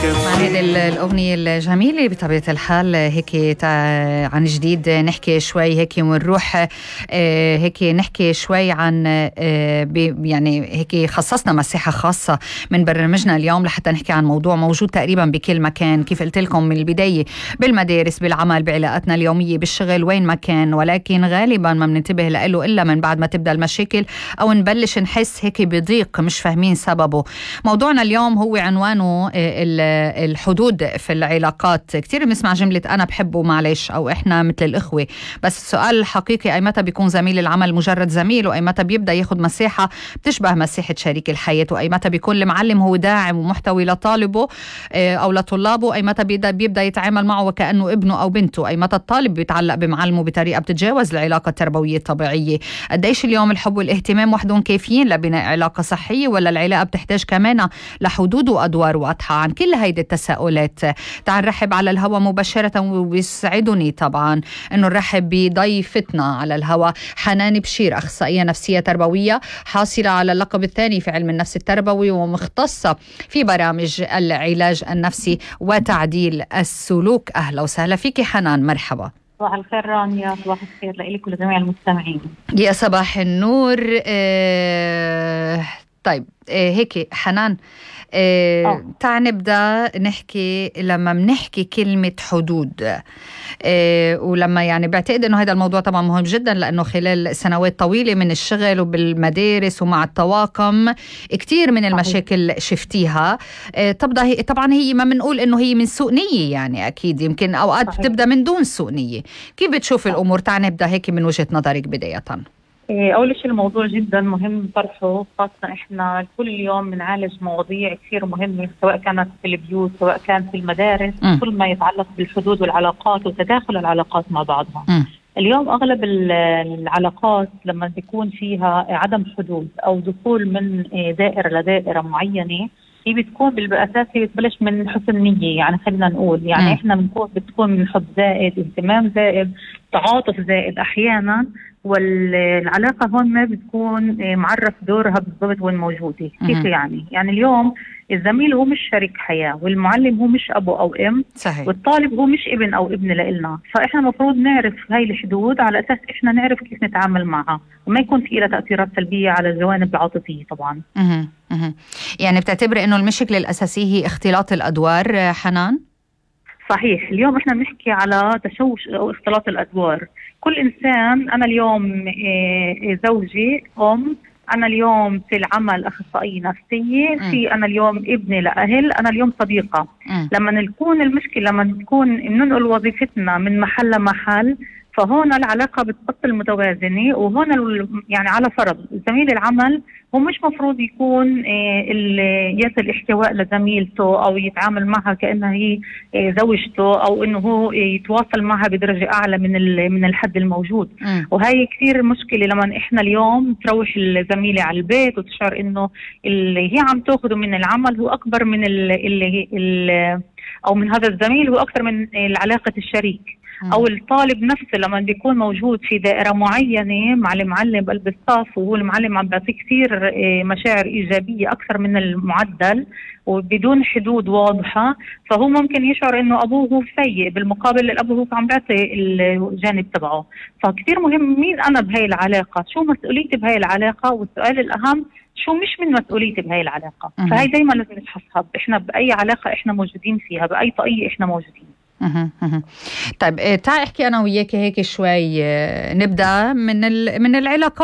مع هذه الأغنية الجميلة بطبيعة الحال هيك عن جديد نحكي شوي هيك ونروح هيك نحكي شوي عن يعني هيك خصصنا مساحة خاصة من برنامجنا اليوم لحتى نحكي عن موضوع موجود تقريبا بكل مكان، كيف قلت لكم من البداية، بالمدارس، بالعمل، بعلاقاتنا اليومية، بالشغل، وين ما كان، ولكن غالبا ما بننتبه له إلا من بعد ما تبدأ المشاكل أو نبلش نحس هيك بضيق مش فاهمين سببه. موضوعنا اليوم هو عنوانه الحدود في العلاقات. كتير بنسمع جملة أنا بحبه معلش أو إحنا مثل الإخوة، بس السؤال الحقيقي أي متى بيكون زميل العمل مجرد زميل، وأي متى بيبدأ ياخد مساحة بتشبه مساحة شريك الحياة، وأي متى بيكون المعلم هو داعم ومحتوي لطالبه أو لطلابه، أي متى بيبدأ يتعامل معه وكأنه ابنه أو بنته، أي متى الطالب بيتعلق بمعلمه بطريقة بتتجاوز العلاقة التربوية الطبيعية. قديش اليوم الحب والاهتمام وحدهم كافيين لبناء علاقة صحية، ولا العلاقة بتحتاج كمان لحدود وأدوار واضحة؟ عن كل هيدي التساؤلات تعال نرحب على الهواء مباشرة، وبيسعدني طبعا انه نرحب بضيفتنا على الهواء حنان بشير، اخصائية نفسية تربوية حاصلة على اللقب الثاني في علم النفس التربوي ومختصة في برامج العلاج النفسي وتعديل السلوك. اهلا وسهلا فيكي حنان، مرحبا. صباح الخير رانيا. صباح الخير لإلك ولجميع المستمعين. يا صباح النور. طيب هيك حنان، تعال نبدأ نحكي. لما بنحكي كلمة حدود ولما يعني بعتقد انه هذا الموضوع طبعا مهم جدا، لانه خلال سنوات طويلة من الشغل وبالمدارس ومع الطواقم كتير من المشاكل شفتيها. طبعا هي ما بنقول انه هي من سوء نية، يعني اكيد يمكن اوقات بتبدأ من دون سوء نية. كيف بتشوف الامور؟ تعال نبدأ هيك من وجهة نظرك بداية. أول شيء الموضوع جدا مهم طرحه، خاصة إحنا كل يوم بنعالج مواضيع كثير مهمة، سواء كانت في البيوت سواء كان في المدارس، كل ما يتعلق بالحدود والعلاقات وتداخل العلاقات مع بعضها. اليوم أغلب العلاقات لما بيكون فيها عدم حدود أو دخول من دائرة لدائرة معينة، هي بتكون بالأساس هي بتبلش من حسن نية. يعني خلينا نقول يعني إحنا بتكون من حب زائد، اهتمام زائد، تعاطف زائد أحيانا، والعلاقة هون ما بتكون معرف دورها بالضبط وين موجودة. كيف يعني؟ يعني اليوم الزميل هو مش شريك حياة، والمعلم هو مش أبو أو أم، صحيح. والطالب هو مش ابن أو ابن لإلنا. فإحنا المفروض نعرف هاي الحدود على أساس إحنا نعرف كيف نتعامل معها، وما يكون في لها تأثيرات سلبية على الجوانب العاطفية طبعا. يعني بتعتبر إنه المشكلة الأساسية هي اختلاط الأدوار حنان؟ صحيح. اليوم احنا بنحكي على تشوش او اختلاط الادوار. كل انسان، انا اليوم زوجي، انا اليوم في العمل اخصائيه نفسيه، في انا اليوم ابني لاهل، انا اليوم صديقه. لما نكون المشكله لما نكون ننقل وظيفتنا من محل لمحل، فهون العلاقة بتبطل متوازنة. وهون يعني على فرض زميل العمل هو مش مفروض يكون يصل احتواء لزميلته أو يتعامل معها كأنها هي زوجته، أو إنه هو يتواصل معها بدرجة أعلى من الحد الموجود. وهي كثير مشكلة لما إحنا اليوم تروح الزميلة على البيت وتشعر إنه اللي هي عم تأخذه من العمل هو أكبر من أو من هذا الزميل هو أكثر من علاقة الشريك. أو الطالب نفسه لما بيكون موجود في دائرة معينة مع المعلم بقلب الصف، وهو المعلم عم بيعطيه كثير مشاعر إيجابية أكثر من المعدل وبدون حدود واضحة، فهو ممكن يشعر إنه أبوه هو سيء، بالمقابل الأب هو عم بيعطي الجانب تبعه. فكثير مهم مين أنا بهاي العلاقة، شو مسؤوليتي بهاي العلاقة، والسؤال الأهم شو مش من مسؤوليتي بهاي العلاقة. فهي دايما لازم نفحصها، إحنا بأي علاقة إحنا موجودين فيها، بأي طاقية إحنا موجودين. طيب تعال احكي انا وياك هيك شوي. نبدا من العلاقات